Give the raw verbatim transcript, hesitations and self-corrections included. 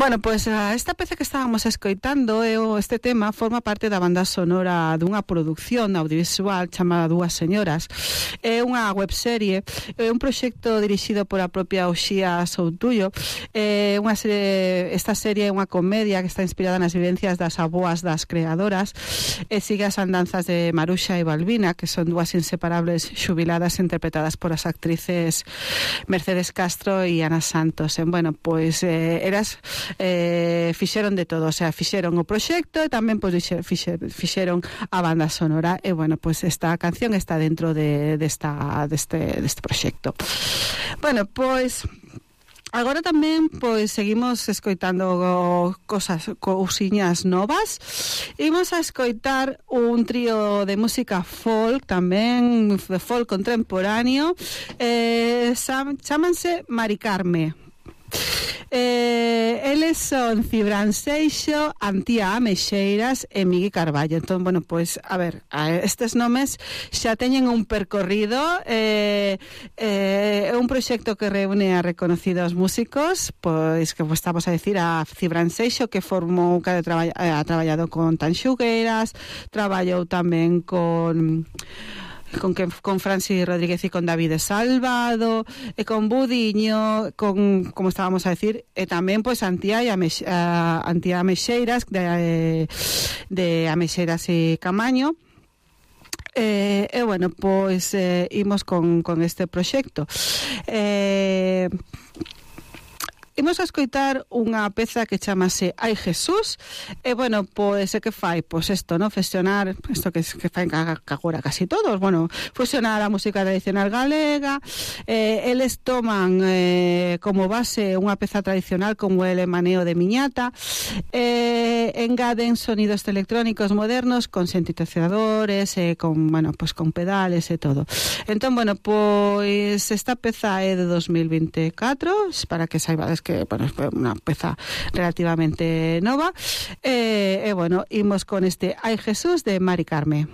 Bueno, pois pues, esta peza que estábamos escoitando, este tema, forma parte da banda sonora dunha produción audiovisual chamada Dúas Señoras. É unha webserie, é un proxecto dirixido por a propia Uxía Soutullo. É unha serie, esta serie é unha comedia que está inspirada nas vivencias das avoas das creadoras e sigue as andanzas de Maruxa e Balbina, que son dúas inseparables xubiladas interpretadas por as actrices Mercedes Castro e Ana Santos. E, bueno, pois eh, eras eh, fixeron de todo, o sea, fixeron o proxecto e tamén pois fixeron, fixeron a banda sonora e, bueno, pois esta canción está dentro de, de esta, deste, deste proxecto. Bueno, pois agora tamén pois seguimos escoitando cosas, cousiñas novas. Imos a escoitar un trío de música folk tamén, de folk contemporáneo, eh, chámanse Mari Carme. Eh, eles son Cibran Seixo, Antía Ameixeiras e Migui Carballo. Entón, bueno, pois, a ver, estes nomes xa teñen un percorrido, eh, eh, un proxecto que reúne a reconocidos músicos, pois que pues, estamos a decir a Cibran Seixo, que formou, que ha traballado con Tanxugueiras, traballou tamén con con que con Francis Rodríguez e con David Salvado e con Budiño, con, como estábamos a decir, e tamén pois Antía e Amex, uh, Antía Ameixeiras de, de Ameixeiras e Camaño. E, eh, eh, bueno, pois eh, imos con, con este proxecto. Eh Imos a escoitar unha peza que chamase Ai Jesús. E, bueno, pois, é que fai? Pois isto, non? Fusionar, isto que, que fai agora casi todos, bueno, fusionar a música tradicional galega. Eh, eles toman eh, como base unha peza tradicional como el Maneo de Miñata. Eh, engaden sonidos electrónicos modernos con sintetizadores, eh, con, bueno, pois con pedales e todo. Entón, bueno, pois esta peza é de dos mil veinticuatro, para que saibades que, bueno, é unha peza relativamente nova. E, eh, eh, bueno, imos con este Ai Jesús de Mari Carme.